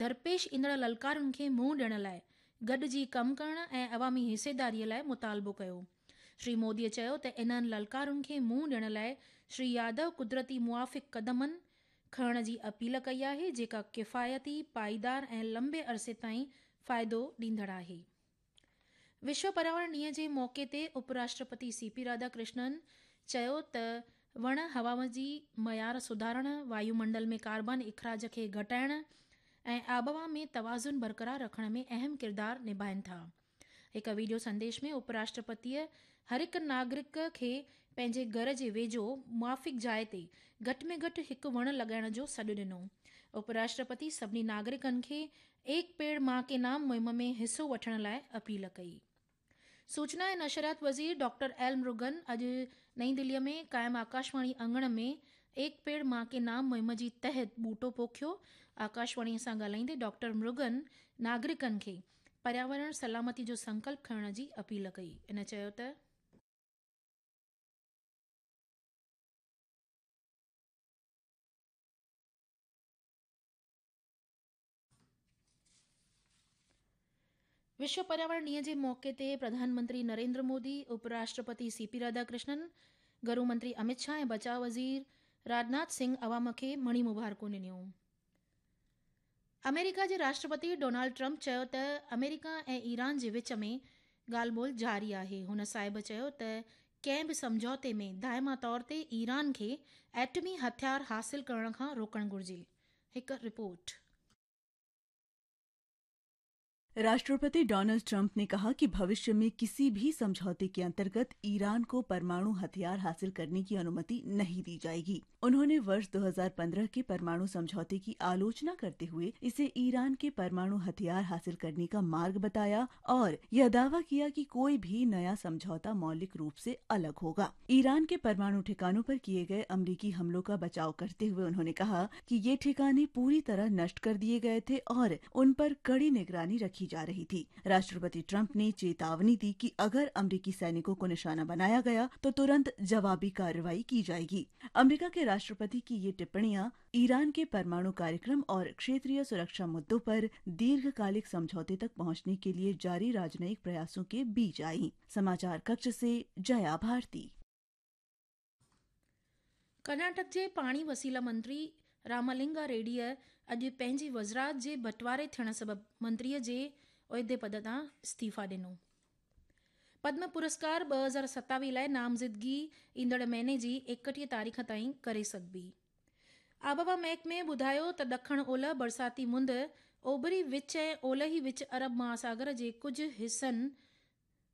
درپيش ايندڙ للڪارن کي منهن ڏيڻ لاء گڏجي ڪم ڪرڻ ۽ عوامي حصيداري لاء مطالبو ڪيو. شري مودي چيو ته انهن للڪارن کي منهن ڏيڻ لاء شري يادو قدرتي موافق قدمن کڻڻ جي اپيل ڪئي آهي، جيڪا ڪفايتي، پائيدار ۽ لمبي عرصي تائين فائدو ڏيندڙ آهي. وشو پرياورڻ ڏينهن جي موقعي تي اپ راشٽرپتي سي پي راڌا ڪرشنن چيو ته وڻ هوا جي معيار سڌارڻ، وايومنڊل ۾ ڪاربان اخراج کي گهٽائڻ ۽ آبهوا ۾ توازن برقرار رکڻ ۾ اهم ڪردار نڀائين ٿا. هڪ وڊيو سنديش ۾ اپ راشٽرپتيء هر هڪ ناگرڪ کي پنهنجي گهر جي ويجهو موافق جاء تي گهٽ ۾ گهٽ هڪ وڻ لڳائڻ جو سڏ ڏنو. اپ راشٽرپتي سڀني ناگرڪن کي ايڪ پيڙ مان ڪي نام مهم ۾ حصو وٺڻ لاء اپيل ڪئي. سوچنا ۽ نشريات وزير ڊاڪٽر ايل مرگن اڄ نئين دهلي ۾ قائم آڪاشواڻي اڱڻ ۾ ايڪ پيڙ مان ڪي نام مهم جي تحت ٻوٽو پوکيو. آڪاشواڻي سان ڳالهائيندي ڊاڪٽر مرگن ناگرڪن کي پرياورڻ سلامتي جو سنڪلپ کڻڻ جي اپيل ڪئي. هن چيو ته. وشو پرياورڻ ڏينهن جي موقعي تي پرڌان منتري نريندر مودي، اپ راشٽرپتي سي پي راڌا ڪرشنن، گهرو منتري امت شاهه ۽ بچاء وزير راجناٿ سنگهه عوام کي مڻي مبارڪون ڏنيون. آمريڪا جي راشٽرپتي ڊونالڊ ٽرمپ چيو ته آمريڪا ۽ ايران جي وچ ۾ ڳالهه ٻولهه جاري آهي. هن صاحب چيو ته ڪنهن به سمجهوتي ۾ دائما طور تي ايران کي ايٽمي هٿيار حاصل ڪرڻ کان روڪڻ گهرجي. هڪ رپورٽ. राष्ट्रपति डोनाल्ड ट्रंप ने कहा कि भविष्य में किसी भी समझौते के अंतर्गत ईरान को परमाणु हथियार हासिल करने की अनुमति नहीं दी जाएगी। उन्होंने वर्ष 2015 के परमाणु समझौते की आलोचना करते हुए इसे ईरान के परमाणु हथियार हासिल करने का मार्ग बताया और यह दावा किया कि कोई भी नया समझौता मौलिक रूप से अलग होगा। ईरान के परमाणु ठिकानों पर किए गए अमरीकी हमलों का बचाव करते हुए उन्होंने कहा कि ये ठिकाने पूरी तरह नष्ट कर दिए गए थे और उन पर कड़ी निगरानी रखी जा रही थी। राष्ट्रपति ट्रंप ने चेतावनी दी कि अगर अमरीकी सैनिकों को निशाना बनाया गया तो तुरंत जवाबी कार्रवाई की जाएगी। अमेरिका के राष्ट्रपति की ये टिप्पणियां ईरान के परमाणु कार्यक्रम और क्षेत्रीय सुरक्षा मुद्दों पर दीर्घकालिक समझौते तक पहुंचने के लिए जारी राजनयिक प्रयासों के बीच आईं। समाचार कक्ष से जया भारती। कर्नाटक جي پاڻي وسيلا منتري رامالنگا ريڊيء اڄ پنهنجي وزارت جي بٽواري ٿيڻ سبب منتريء جي عهدي پد تان استعيفيٰ ڏنو. پدم پرسڪار 2027 لاء نامزدگي ايندڙ مهيني جي 31 تاريخ تائين ڪري سگهبي. آبهوا محڪمي ٻڌايو ته ڏکڻ اولهه برساتي مند اوڀري وچ ۽ اولهي وچ عرب مهاساگر جي ڪجهه حصن،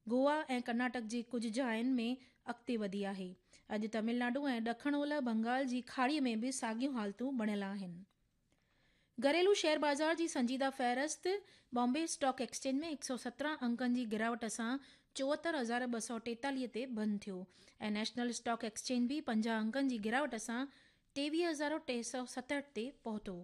گوا ۽ ڪرناٽڪ جي ڪجهه جاين ۾ اڳتي وڌي آهي. اڄ تمل ناڊو ۽ ڏکڻ اولهه بنگال جي کاڙي ۾ به ساڳيون حالتون بڻيل آهن. گهريلو شيئر بازار جي سنجيده فهرست بامبي اسٽاڪ ايڪسچينج ۾ 117 انڪن جي گراوٽ سان 74243 تي بند ٿيو ۽ نيشنل اسٽاڪ ايڪسچينج به 50 انڪن جي گراوٽ سان 23367 تي پهتو.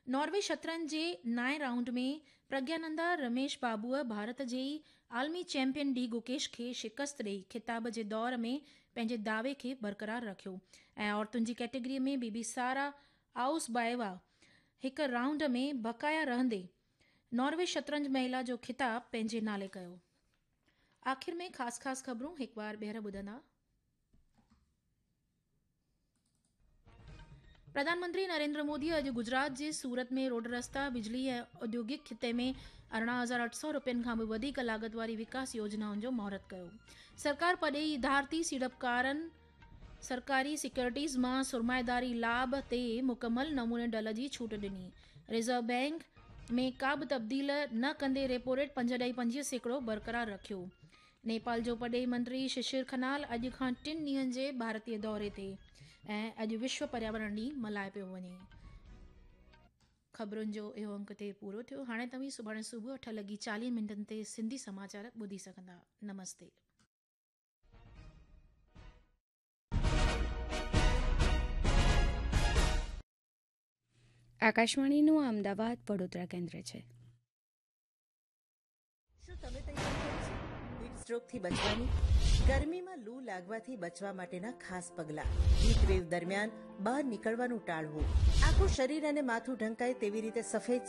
ناروي شطرنج جي نائين رائونڊ ۾ پرگيانندا رميش بابوء ڀارت جي ئي عالمي چيمپيئن ڊي گوڪيش کي شڪست ڏئي خطاب جي دور ۾ پنهنجي دعوي کي برقرار رکيو ۽ عورتن جي ڪيٽيگري ۾ بي بي سارا آئوس بائيوا هڪ رائونڊ ۾ بقايا رهندي ناروي شطرنج مهلا جو خطاب پنهنجي نالي ڪيو. آخر ۾ خاص خاص خبرون هڪ بار ٻيهر ٻڌندا. پرڌان منتري نريندر مودي اڄ گجرات جي سورت ۾ روڊ رستا، بجلي ۽ اوديوگڪ خطي ۾ 18,800 رپين کان به وڌيڪ لاڳت واري وڪاس يوجنائن جو مهورت ڪيو. سرڪار پرڏيهي ادارتي سيڙپڪارن سرڪاري سيڪيورٽيز مان سرمائيداري لاڀ تي مڪمل نموني ڍل جي ڇوٽ ڏني. ريزرو بئنڪ ۾ ڪا به تبديل نه ڪندي ريپو ريٽ 5.25% برقرار رکيو. نيپال جو پرڏيهي منتري ششر کنال اڄ کان ٽن ڏينهن جي ڀارتي دوري تي ۽ اڄ وشو پرياورڻ ڏينهن ملهايو پيو وڃي. خبرن جو اهو انڪ تي پورو ٿيو. هاڻي توهين سڀاڻي صبح 8:40 تي سنڌي سماچار ٻڌي سگهندا. نمستي. આકાશવાણીનું આ અમદાવાદ વડોદરા કેન્દ્ર છે. શું તમે તૈયારી કરી છે હીટ સ્ટ્રોકથી બચવાની? ગરમીમાં લૂ લાગવાથી બચવા માટેના ખાસ પગલાં. હીટવેવ દરમિયાન બહાર નીકળવાનું ટાળવું. આખું શરીર અને માથું ઢંકાય તેવી રીતે સફેદ